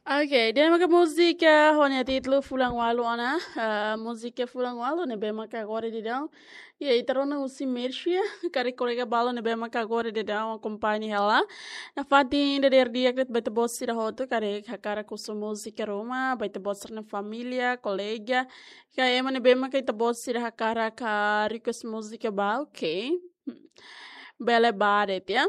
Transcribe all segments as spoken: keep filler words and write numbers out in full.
Ok, ida-ne'e maka múzika ho nia títulu Fulan Ualu ona, ah, múzika Fulan Ualu ne'ebé maka agora daudaun iha ita rona husi Mersia, karik kolega balu ne'ebé maka agora daudaun akompaña hela. Nafatin dadeer di'ak de'it ba ita-boot sira hotu, karik hakarak husu múzika ruma ba ita-boot sira-nia família, kolega, ka ema ne'ebé maka ita-boot sira hakarak request múzika ba, ok. Bele ba de'it, ya.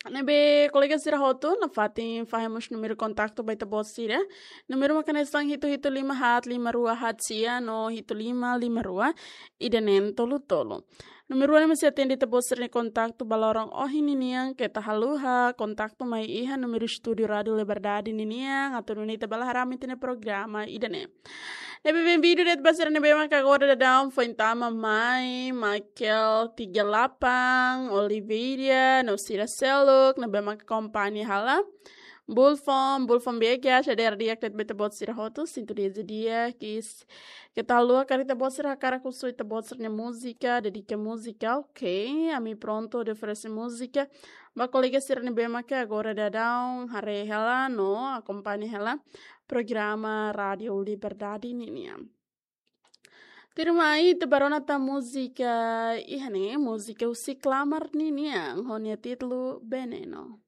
Ne'ebé kolega sira hotu, nafatin fahe mós númeru kontaktu ba ita-boot sira. Númeru maka hanesan hitu hitu lima haat lima rua haat sia no hitu lima lima rua ida neen tolu tolu. Númeru ne'e mós sei atende ita-boot sira-nia kontaktu ba loron ohin ninian, keta haluha kontaktu mai iha númeru estúdiu Rádiu Liberdade ninian, atu nune'e ita bele haree ami-nia programa ida-ne'e. Ne'ebé benvindu de'it ba sira ne'ebé maka agora daudaun foin tama mai, Michael tiga delapan, Oliveira, no sira seluk ne'ebé maka akompaña hela. Bulfon, Bulfon B G, dadeer di'ak de'it ba ita-boot sira hotu, sintonia di'ak, kis. Keta haluha karik ita-boot sira hakarak husu ita-boot sira-nia múzika, dedika múzika, ok. Ami prontu hodi oferese múzika ba kolega sira ne'ebé maka agora daudaun haree hela no akompaña hela programa Rádiu Liberdade ninian. Tuirmai ita bá rona tan múzika iha ne'e, múzika husi Klamar ninian, ho nia títulu Veneno.